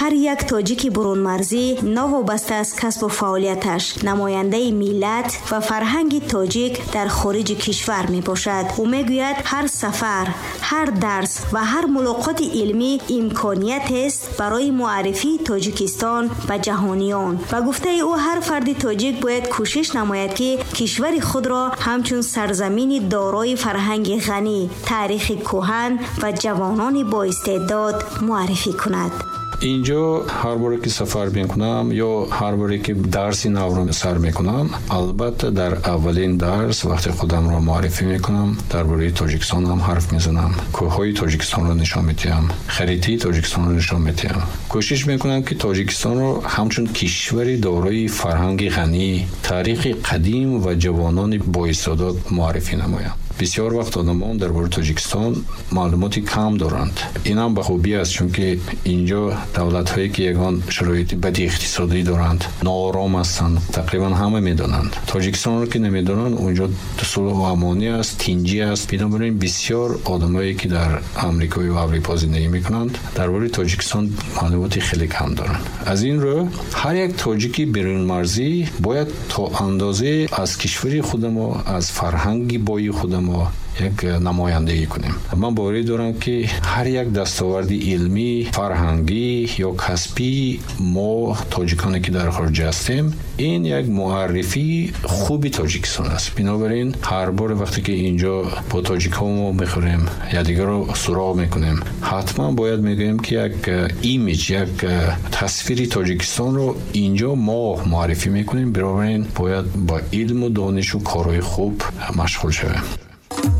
Ҳар як тоҷики бурунмарзӣ, новобаста аз касбу фаъолияташ, намояндаи миллат ва фарҳанги тоҷик дар хориҷи кишвар мебошад. Ӯ мегӯяд, ҳар сафар, ҳар дарс ва ҳар мулоқоти илмӣ имкониятест барои муаррифии Тоҷикистон ба ҷаҳониён. Ба гуфтаи ӯ, ҳар фарди тоҷик бояд кӯшиш намояд, ки кишвари худро ҳамчун сарзамини дорои фарҳанги ғанӣ, таърихи кӯҳан ва ҷавонони боистеъдод муаррифӣ кунад. Инҷо ҳар боре ки сафар мекунам ё ҳар боре ки дарси навро сар мекунам, албатта, дар аввалин дарс вақте худамро муаррифӣ мекунам, дар бораи Тоҷикистон ҳам ҳарф мезанам, кӯҳҳои Тоҷикистонро нишон медиҳам, харитаи Тоҷикистонро нишон медиҳам. Кӯшиш мекунам, ки Тоҷикистонро ҳамчун кишвари дорои фарҳанги ғанӣ, таърихи қадим ва ҷавонони боистеъдод муаррифӣ намоям. Бисёр вақт одамон дар бораи Тоҷикистон маълумоти кам доранд. Инам ба хубӣ аст, чунки инҷо давлатҳое ки ягон шароити бади иқтисодӣ доранд, ноором ҳастанд, тақрибан ҳама медонанд. Тоҷикистонро ки намедонанд, унҷо сулҳу амонӣ аст, тинҷӣ аст. Бинобар ин бисёр одамое ки дар Амрикою Аврупо зиндагӣ мекунанд, дар бораи Тоҷикистон маълумоти хеле кам доранд. Аз ин рӯ ҳар як тоҷики берунмарзӣ бояд то андозе аз кишвари худамо, аз фарҳанги бои худамо як намояндагӣ кунем. Ман боварӣ дорам, ки ҳар як дастоварди илмӣ, фарҳангӣ ё касбии мо, тоҷиконе ки дар хориҷа ҳастем, ин як муаррифии хуби Тоҷикистон аст. Бинобар ин ҳар боре вақте ки инҷо бо тоҷикҳо мо мехӯрем, якдигарро суроғ мекунем, ҳатман бояд мегӯем, ки як имидж, як тасвири Тоҷикистонро инҷо мо муаррифӣ мекунем. Бинобар ин бояд ба илму донишу корҳои хуб машғул шавем.